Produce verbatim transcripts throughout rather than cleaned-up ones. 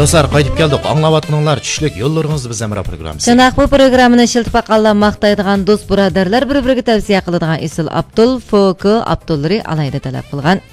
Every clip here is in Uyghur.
دوستلار، قايتىپ كەلدۇق. ئاڭلاۋاتقىنىڭلار چۈشلۈك يوللىرىڭىزدا بىز ھەمراھ پروگراممىسى. شۇنداق، بۇ پروگراممىنى ئىشلىتىپ باققانلار ماختايدىغان، دوست بۇرادەرلەر بىر-بىرىگە تەۋسىيە قىلىدىغان ئېسىل ئابدۇل، فوكو ئابدۇللىرى ئالاھىدە تەلەپ قىلغان.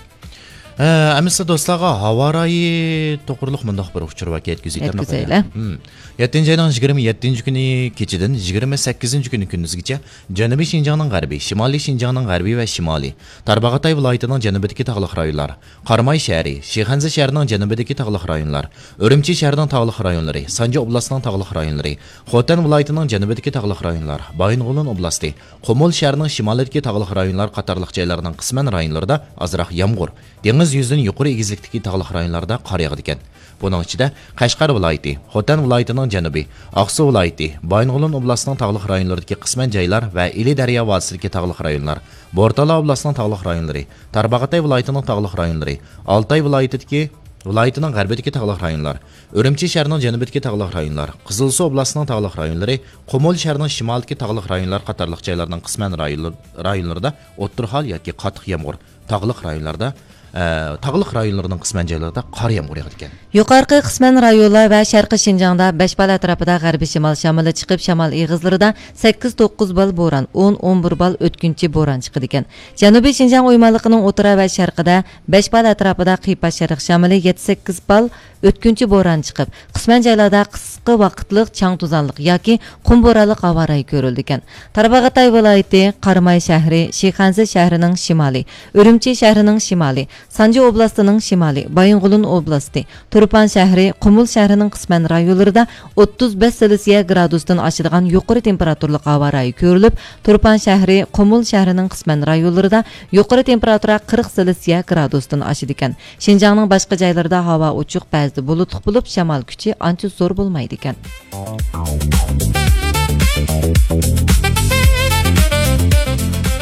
ھە، ئەمىسە دوستلارغا ھاۋا رايى توغرۇلۇق مۇنداق بىر ئۇچۇر ۋە يەتكۈزۈۋېتەيلى. يەتكۈزەيلى. ھىم. يەتتىنچى ئاينىڭ يىگىرمە يەتتىنچى كۈنى كېچىدىن يىگىرمە سەككىزىنچى كۈنى كۈندۈزگىچە جەنۇبىي شىنجاڭنىڭ غەربىي، شىمالىي شىنجاڭنىڭ غەربىي ۋە شىمالىي، تارباغاتاي ۋىلايىتىنىڭ جەنۇبىدىكى تاغلىق رايونلار، قاراماي شەھىرى، شىخەنزە شەھىرىنىڭ جەنۇبىدىكى تاغلىق رايونلار، ئۈرۈمچى شەھىرىنىڭ تاغلىق رايونلىرى، سانجى ئوبلاستىنىڭ تاغلىق رايونلىرى، خوتەن ۋىلايىتىنىڭ جەنۇبىدىكى تاغلىق رايونلار، بايىنغولىن ئوبلاستى، قۇمۇل شەھىرىنىڭ شىمالىدىكى تاغلىق رايونلار قاتارلىق جايلارنىڭ قىسمەن رايونلىرىدا ئازراق يامغۇر، دېڭىز يۈزىدىن يۇقىرى ئېگىزلىكتىكى تاغلىق رايونلاردا قار ياغىدىكەن. بۇنىڭ ئىچىدە، قەشقەر ۋىلايىتى، خوتەن ۋىلايىتىنىڭ جەنۇبى، ئاقسۇ ۋىلايىتى، بايىنغولىن ئوبلاستىنىڭ تاغلىق رايونلىرىدىكى قىسمەن جايلار ۋە ئىلى دەريا ۋادىسىدىكى تاغلىق رايونلار، بورتالا ئوبلاستىنىڭ تاغلىق رايونلىرى، تارباغاتاي ۋىلايىتىنىڭ تاغلىق رايونلىرى، ئالتاي ۋىلايىتىدىكى، ۋىلايىتىنىڭ غەربىدىكى تاغلىق رايونلار، ئۈرۈمچى شەھىرىنىڭ جەنۇبىدىكى تاغلىق رايونلار، قىزىلسۇ ئوبلاستىنىڭ تاغلىق رايونلىرى، قۇمۇل شەھىرىنىڭ شىمالىدىكى تاغلىق رايونلار قاتارلىق جايلارنىڭ قىسمەن رايونلىرىدا ئوتتۇرا ھال ياكى قاتتىق يامغۇر، تاغلىق رايونلاردا، ئە، تاغلىق رايونلىرىنىڭ قىسمەن جايلىرىدا قار يامغۇر ياغىدىكەن. يۇقارقى قىسمەن رايونلار ۋە شەرقىي شىنجاڭدا بەش بال ئەتراپىدا غەربىي شىمال شامىلى چىقىپ، شامال ئېغىزلىرىدا سەككىز توققۇز بال بوران، ئون ئون بىر بال ئۆتكۈنچى بوران چىقىدىكەن. جەنۇبىي شىنجاڭ ئويمانلىقىنىڭ ئوتتۇرا ۋە شەرقىدە بەش بال ئەتراپىدا قىيپاش شەرق شامىلى يەتتە سەككىز بال ئۆتكۈنچى بوران چىقىپ، قىسمەن جايلاردا قىسقا ۋاقىتلىق چاڭ-توزانلىق ياكى قۇم بورانلىق ھاۋا رايى كۆرۈلىدىكەن. تارباغاتاي ۋىلايىتى، قاراماي شەھىرى، شىخەنزە شەھىرىنىڭ شىمالى، ئۈرۈمچى شەھىرىنىڭ شىمالى، سانجى ئوبلاستىنىڭ شىمالى، بايىنغولىن ئوبلاستى، تۇرپان شەھىرى، قۇمۇل شەھىرىنىڭ قىسمەن رايونلىرىدا ئوتتۇز بەش سېلسىيە گرادۇستىن ئاشىدىغان يۇقىرى تېمپېراتۇرىلىق ھاۋا رايى كۆرۈلۈپ، تۇرپان شەھىرى، قۇمۇل شەھىرىنىڭ قىسمەن رايونلىرىدا يۇقىرى تېمپېراتۇرا قىرىق سېلسىيە گرادۇستىن ئاشىدىكەن. شىنجاڭنىڭ باشقا جايلىرىدا ھاۋا ئوچۇق، بەزىدە بۇلۇتلۇق بولۇپ، شامال كۈچى ئانچە زور بولمايدىكەن.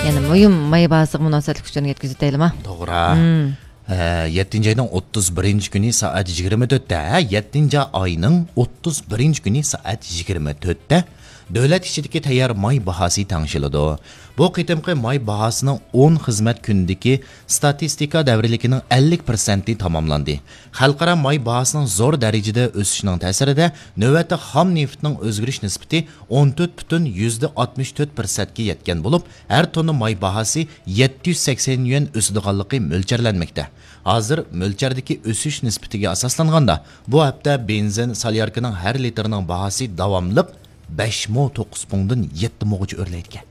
يەنە مۇھىم ماي باھاسىغا مۇناسىۋەتلىك ئۇچۇرنى يەتكۈزۈۋېتەيلىما؟ توغرا. مم. ھە، يەتتىنچى ئاينىڭ ئوتتۇز بىرىنچى كۈنى سائەت يىگىرمە تۆتتە، ھە، يەتتىنچى ئاينىڭ ئوتتۇز بىرىنچى كۈنى سائەت يىگىرمە تۆتتە دۆلەت ئىچىدىكى تەييار ماي باھاسى تەڭشىلىدۇ. بۇ قېتىمقى ماي باھاسىنىڭ ئون خىزمەت كۈنىدىكى ستاتىستىكا دەۋرىيلىكىنىڭ ئەللىك پىرسەنتى تاماملاندى. خەلقئارا ماي باھاسىنىڭ زور دەرىجىدە ئۆسۈشىنىڭ تەسىرىدە، نۆۋەتتە خام نېفىتنىڭ ئۆزگىرىش نىسبىتى ئون تۆت پۈتۈن يۈزدە ئاتمىش تۆت پىرسەنتكە يەتكەن بولۇپ، ھەر توننا ماي باھاسى يەتتە يۈز سەكسەن يۈەن ئۆسىدىغانلىقى مۆلچەرلەنمەكتە. ھازىر مۆلچەردىكى ئۆسۈش نىسبىتىگە ئاساسلانغاندا، بۇ ھەپتە بېنزىن سالياركىنىڭ ھەر لىتىرىنىڭ باھاسى داۋاملىق بەش مو توققۇز پۇڭدىن يەتتە موغىچە ئۆرلەيدىكەن.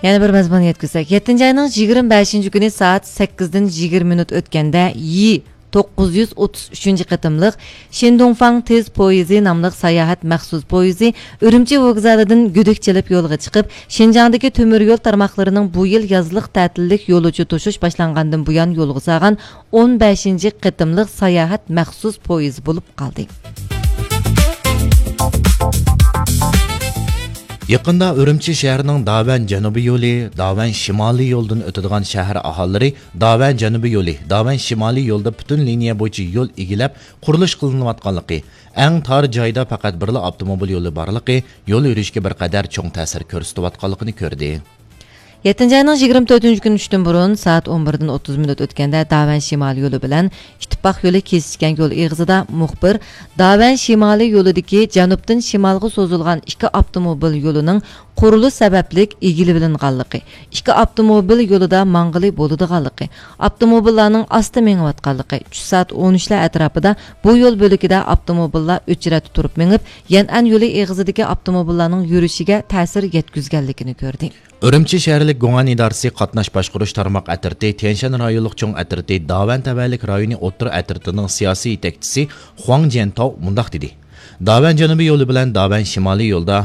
يەنە بىر مەزمۇن يەتكۈزسەك، يەتتىنچى ئاينىڭ يىگىرمە بەشىنچى كۈنى سائەت سەككىزدىن يىگىرمە مىنۇت ئۆتكەندە، يى توققۇز يۈز ئوتتۇز ئۈچىنچى قېتىملىق شىندۇڭفاڭ تېز پويىزى ناملىق ساياھەت مەخسۇس پويىزى ئۈرۈمچى ۋوگزالىدىن گۈدۈك چېلىپ يولغا چىقىپ، شىنجاڭدىكى تۆمۈر يول تارماقلىرىنىڭ بۇ يىل يازلىق تەتىللىك يولۇچى توشۇش باشلانغاندىن بۇيان يولغا سالغان ئون بەشىنچى قېتىملىق ساياھەت مەخسۇس پويىزى بولۇپ قالدى. يېقىندا ئۈرۈمچى شەھىرىنىڭ داۋەن جەنۇبىي يولى، داۋەن شىمالىي يولىدىن ئۆتىدىغان شەھەر ئاھالىلىرى داۋەن جەنۇبىي يولى، داۋەن شىمالىي يولىدا پۈتۈن لىنىيە بويىچە يول ئىگىلەپ، قۇرۇلۇش قىلىنىۋاتقانلىقى، ئەڭ تار جايدا پەقەت بىرلا ئاپتوموبىل يولى بارلىقى يول يۈرۈشكە بىر قەدەر چوڭ تەسىر كۆرسىتىۋاتقانلىقىنى كۆردى. يەتتىنچى ئاينىڭ يىگىرمە تۆتىنچى كۈنى چۈشتىن بۇرۇن سائەت ئون بىردىن ئوتتۇز مىنۇت ئۆتكەندە، داۋەن شىمالىي يولى بىلەن ئىتتىپاق يولى كېسىشكەن يول ئېغىزىدا مۇخبىر داۋەن شىمالىي يولىدىكى جەنۇبتىن شىمالغا سوزۇلغان ئىككى ئاپتوموبىل يولىنىڭ قۇرۇلۇش سەۋەبلىك ئىگىلىۋېلىنغانلىقى، ئىككى ئاپتوموبىل يولىدا ماڭغىلى بولىدىغانلىقى، ئاپتوموبىللارنىڭ ئاستا مېڭىۋاتقانلىقى، چۈش سائەت ئون ئۈچلەر ئەتراپىدا بۇ يول بۆلىكىدە ئاپتوموبىللار ئۆچرەتتە تۇرۇپ مېڭىپ، يەنئەن يولى ئېغىزىدىكى ئاپتوموبىللارنىڭ يۈرۈشىگە تەسىر يەتكۈزگەنلىكىنى كۆردى. ئۈرۈمچى شەھەرلىك گۇڭئەن ئىدارىسى قاتناش باشقۇرۇش تارماق ئەترىتى، تيەنشەن رايونلۇق چوڭ ئەترىتى، داۋەن تەۋەلىك رايونى ئوتتۇرا ئەترىتىنىڭ سىياسىي يېتەكچىسى خۇاڭ جيەنتاۋ مۇنداق دېدى: داۋەن جەنۇبىي يولى بىلەن داۋەن شىمالىي يولدا،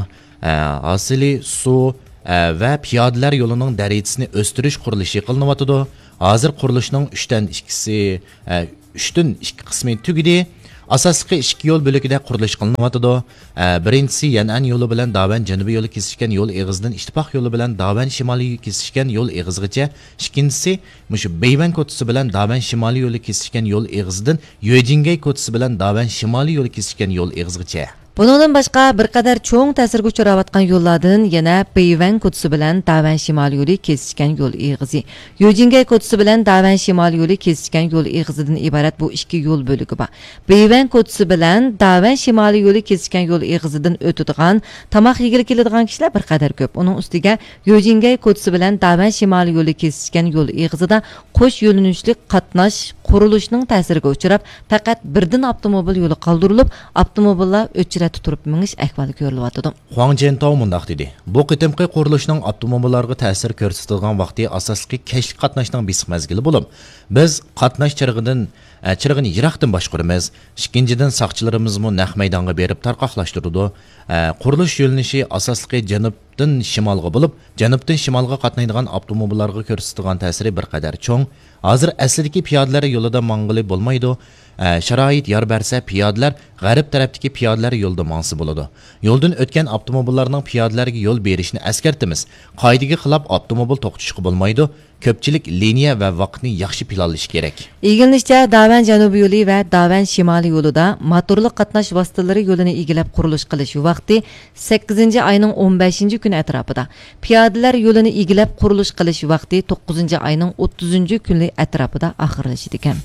ئە، ھاسىلى سۇ، ئە، ۋە پىيادىلەر يولىنىڭ دەرىجىسىنى ئۆستۈرۈش قۇرۇلۇشى قىلىنىۋاتىدۇ. ھازىر قۇرۇلۇشنىڭ ئۈچتىن ئىككىسى، ئە، ئۈچتىن ئىككى قىسمى تۈگىدى. ئاساسلىقى ئىككى يول بۆلىكىدە قۇرۇلۇش قىلىنىۋاتىدۇ. ئە، بىرىنچىسى يەنئەن يولى بىلەن داۋەن جەنۇبىي يولى كېسىشكەن يول ئېغىزىدىن ئىتتىپاق يولى بىلەن داۋەن شىمالىي يولى كېسىشكەن يول ئېغىزىغىچە، ئىككىنچىسى مۇشۇ بېيۋەن كوچىسى بىلەن داۋەن شىمالىي يولى كېسىشكەن يول ئېغىزىدىن يۆجىنگەي كوچىسى بىلەن داۋەن شىمالىي يولى كېسىشكەن يول ئېغىزىغىچە. بۇنىڭدىن باشقا، بىر قەدەر چوڭ تەسىرگە ئۇچراۋاتقان يوللاردىن يەنە بېيۋەن كوچىسى بىلەن داۋەن شىمالىي يولى كېسىشكەن يول ئېغىزى، يۆجىنگەي كوچىسى بىلەن داۋەن شىمالىي يولى كېسىشكەن يول ئېغىزىدىن ئىبارەت بۇ ئىككى يول بۆلىكى بار. بېيۋەن كوچىسى بىلەن داۋەن شىمالىي يولى كېسىشكەن يول ئېغىزىدىن ئۆتىدىغان، تاماق يېگىلى كېلىدىغان كىشىلەر بىر قەدەر كۆپ. ئۇنىڭ ئۈستىگە يۆجىنگەي كوچىسى بىلەن داۋەن شىمالىي يولى كېسىشكەن يول ئېغىزىدا قوش يۆنىلىشلىك قاتناش قۇرۇلۇشنىڭ تەسىرىگە ئۇچراپ، پەقەت بىردىن ئاپتوموبىل يولى قالدۇرۇلۇپ، ئاپتوموبىللار ئۆچرەتتە تۇرۇپ مېڭىش ئەھۋالى كۆرۈلۈۋاتىدۇ. خۇاڭ جيەنتاۋ مۇنداق دېدى، بۇ قېتىمقى قۇرۇلۇشنىڭ ئاپتوموبىللارغا تەسىر كۆرسىتىدىغان ۋاقتى ئاساسلىقى كەچلىك قاتناشنىڭ بېسىق مەزگىلى بولۇپ، بىز قاتناش چىرىغىدىن، ئە، چىرىغىنى يىراقتىن باشقۇرىمىز. ئىككىنچىدىن، ساقچىلىرىمىزمۇ نەق مەيدانغا بېرىپ تارقاقلاشتۇرىدۇ. ئە، قۇرۇلۇش يۆنىلىشى ئاساسلىقى جەنۇب جەنۇبتىن شىمالغا بولۇپ، جەنۇبتىن شىمالغا قاتنايدىغان ئاپتوموبىللارغا كۆرسىتىدىغان تەسىرى بىر قەدەر چوڭ. ھازىر ئەسلىدىكى پىيادىلەر يولىدا ماڭغىلى بولمايدۇ. ئە، شارائىت يار بەرسە، پىيادىلەر غەرب تەرەپتىكى پىيادىلەر يولىدا ماڭسا بولىدۇ. يولدىن ئۆتكەن ئاپتوموبىللارنىڭ پىيادىلەرگە يول بېرىشىنى ئەسكەرتىمىز. قائىدىگە خىلاپ ئاپتوموبىل توختىتىشقا بولمايدۇ. كۆپچىلىك لىنىيە ۋە ۋاقىتنى ياخشى پىلانلىشى كېرەك. ئىگىلىنىشىچە، داۋەن جەنۇبىي يولى ۋە داۋەن شىمالىي يولىدا موتورلۇق قاتناش ۋاسىتىلىرى يولىنى ئىگىلەپ قۇرۇلۇش قىلىش ۋاقتى سەككىزىنچى ئاينىڭ ئون بەشىنچى كۈنى ئەتراپىدا، پىيادىلەر يولىنى ئىگىلەپ قۇرۇلۇش قىلىش ۋاقتى توققۇزىنچى ئاينىڭ ئوتتۇزىنچى كۈنى ئەتراپىدا ئاخىرلىشىدىكەن.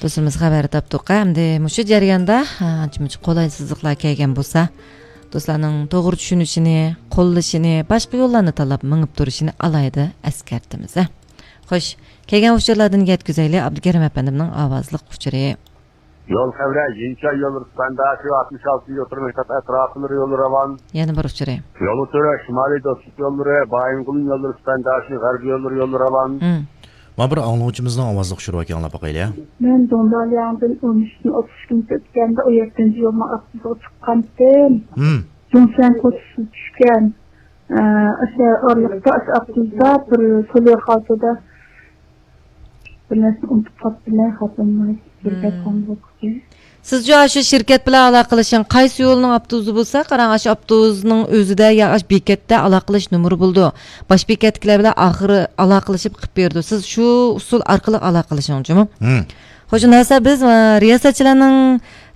دوستلىرىمىز خەۋەر تاپتۇق. ئەمدى مۇشۇ جەرياندا، ھە، ئانچە-مۇنچە قولايسىزلىقلار كەلگەن بولسا، دوستلارنىڭ توغرا چۈشىنىشىنى، قوللىشىنى، باشقا يوللارنى تاللاپ مېڭىپ تۇرۇشىنى ئالاھىدە ئەسكەرتىمىز. خوش، كەلگەن ئۇچۇرلاردىن يەتكۈزەيلى، ئابدۇكېرىم ئەپەندىمنىڭ ئاۋازلىق ئۇچۇرى. يول خەۋىرى، يىنچاي يوللىرى سۈپەنداشى ئاتمىش ئالتىنچى يوتۇر مەكتەپ ئەتراپلىرى يولى راۋان. يەنە بىر ئۇچۇرى. يول ئۇچۇرى، شىمالىي دوستلۇق يوللىرى، بايىنغولىن يوللىرى سۈپەنداشى غەربىي يوللىرى يولى راۋان. مم. مانا بىر ئاڭلىغۇچىمىزنىڭ ئاۋازلىق ئۇچۇرى بار ئىكەن، ئاڭلاپ باقايلى. مەن دۇڭدالياڭدىن ئون ئۈچتىن ئوتتۇز ئىككىنچى ئۆتكەندە ئون يەتتىنچى يولنىڭ ئاپتوبۇسىغا چىققانتىم. مم. جۇڭشەن كوچىسىغا چۈشكەن. ئە، ئاشۇ ئارىلىقتا ئاشۇ ئاپتوبۇستا بىر سوليو خالتىدا بىر نەرسىنى ئۇنتۇپ قاپتىمەن، خاتىرىم بىر بەك قاڭ بولۇپ كەتتى. سىزچۇ ئاشۇ شىركەت بىلەن ئالاقىلىشىڭ. قايسى يولنىڭ ئاپتوبۇسى بولسا، قاراڭ، ئاشۇ ئاپتوبۇسنىڭ ئۆزىدە يا ئاشۇ بېكەتتە ئالاقىلىشىش نومۇرى بولىدۇ. باش بېكەتتىكىلەر بىلەن ئاخىرى ئالاقىلىشىپ قىلىپ بېرىدۇ. سىز شۇ ئۇسۇل ئارقىلىق ئالاقىلىشىڭچۇمۇ؟ مم. خوش، ئۇنداق بولسا بىز، ئە، رىياسەتچىلەرنىڭ،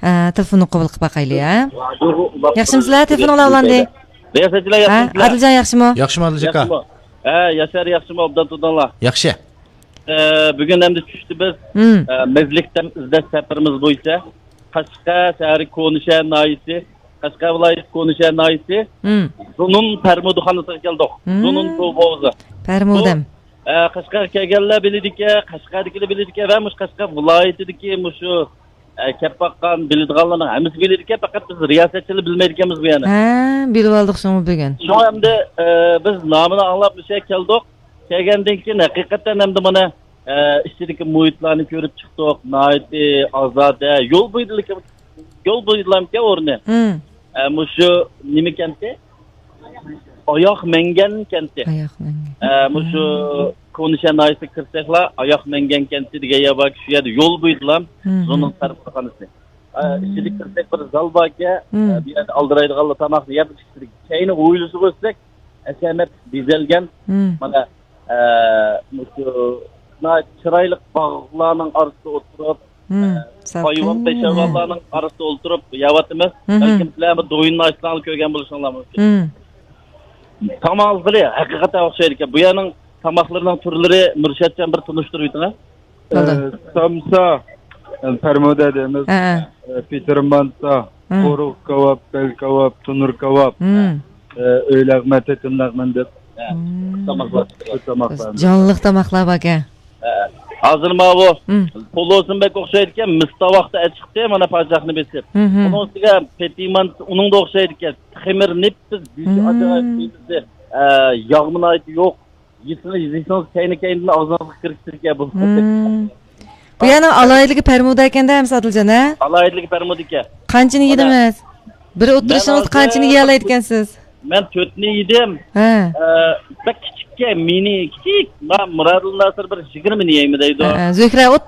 ئە، تېلېفونىنى قوبۇل قىلىپ باقايلى، ھە؟ ياخشىمۇسىلەر؟ تېلېفون ئالاۋلاندى. رىياسەتچىلەر ھە؟ ياخشىمۇسىلەر؟ ئادىلجان ياخشىمۇ؟ ياخشىمۇ، ئادىلجان ئاكا؟ ياخشىمۇ. ھە، ياشار ياخشىمۇ، ئوبدان تۇردۇڭلار؟ ياخشى. ئە، بۈگۈن ئەمدى چۈشتە بىز، مم. ئە، مەزلىك دەم ئىزدەش سەپىرىمىز بويىچە قەشقەر شەھىرى كونىشەھەر ناھىيىسى، قەشقەر ۋىلايىتى كونىشەھەر ناھىيىسى، مم. زۇنۇن پەرمۇدىخانىسىغا كەلدۇق. مم. زۇنۇن سۇ ھوۋۇزى. پەرمۇدەم. بۇ، ئە، قەشقەرگە كەلگەنلەر بىلىدىكەن، قەشقەردىكىلەر بىلىدىكەن ۋە مۇشۇ قەشقەر ۋىلايىتىدىكى مۇشۇ، ئە، كەپ باققان، بىلىدىغانلارنىڭ ھەممىسى بىلىدىكەن، پەقەت بىز رىياسەتچىلەر بىلمەيدىكەنمىز بۇ يەرنى. ھە، بىلىۋالدۇق شۇڭا بۈگۈن. شۇڭا ئەمدى، ئە، بىز نامىنى ئاڭلاپ مۇشۇ يەرگە كەلدۇق. كەلگەندىن كېيىن ھەقىقەتەن ئەمدى مانا، ئە، ئىچىدىكى مۇھىتلارنى كۆرۈپ چىقتۇق. ناھايىتى ئازادە. يول بويىدىلىكى، يول بويىدىلامكەن ئورنى. مم. ئە، مۇشۇ نېمە كەنتى؟ ئاياق مەڭگەن كەنتى. ئاياق مەڭگەن. ئە، مۇشۇ مم. كونىشەھەر ناھىيەسىگە كىرسەكلا، ئاياق مەڭگەن كەنتى دېگەن يەر باركەن، شۇ يەردە يول بويىدىلام، مم. زۇنۇن پەرمانخانىسى. ئە، مم. ئىچىدىكى كىرسەك بىر زال باركەن، مم. ئە، بۇ يەردە ئالدىرايدىغانلار تاماقنى يەپ ئىچىدىكى. كەينى ھويلىسىغا ئۆتسەك، ھەشەمەتلىك بېزەلگەن. مم. مانا، ئە، مۇشۇ ناھايىتى چىرايلىق باغلارنىڭ ئارىسىدا ئولتۇرۇپ، مم، ئە، سالقىن، ھايۋان، ھە. پەشەۋانلارنىڭ ئارىسىدا ئولتۇرۇپ يەۋاتىمىز. مم. بەلكىم سىلەر بۇ دويۇننى ئاچساڭلار كۆرگەن بولۇشۇڭلار مۇمكىن. مم. تاماق ئالغىلى ھەقىقەتەن ئوخشايدىكەن. بۇ يەرنىڭ تاماقلىرىنىڭ تۈرلىرى مۇرشەتجان بىر تونۇشتۇرۇۋېتىڭە. بولدى. ئە، سامسا، ئە، پەرمۇدە دەيمىز. ھە، ھە. ئە، پېتىر مانتا، ھە. قورۇق كاۋاپ، بەل كاۋاپ، تونۇر كاۋاپ. مم. ئە، ئۆي لەغمەن، تېتىم لەغمەن دەپ. ھە. مم. تاماقلار. شۇ تاماقلار. جانلىق تاماقلار باركەن. ھە. ھازىر ماۋۇ مم. پولۇسىمۇ بەك ئوخشايدىكەن، مىس تاۋاقتا ئەچىقتى، مانا پاچاقنى بېسىپ. مم. ئۇنىڭ ئۈستىگە پېتى مانتا، ئۇنىڭدا ئوخشايدىكەن. خېمىر نېپىز، گۆشى مم. ئاجايىپ نېپىز، ئە، ياغمۇ ناھايىتى يوق. يېسىڭىز، يېسىڭىز كەينى-كەينىدىن ئاغزىڭىزغا كىرىپ كېتىدىكەن بۇ. مم. بۇ يەرنىڭ ئالاھىدىلىكى پەرمۇدە ئىكەن-دە، ئەمىسە ئادىلجان، ھە؟ ئالاھىدىلىكى پەرمۇدە ئىكەن. قانچىنى مانا، يېدىڭىز؟ بىر ئولتۇرۇشىڭىزدا مەن قانچىنى ھازىر يېيەلەيدىكەنسىز؟ مەن تۆتنى يېدىم. ھە. ئە، بەك كىچىككەن، مىنى كىچىك. ما، مۇرادىل ناسىر بىر يىگىرمىنى يەيمەن دەيدۇ. ھە، زۆھرە ئوتتۇز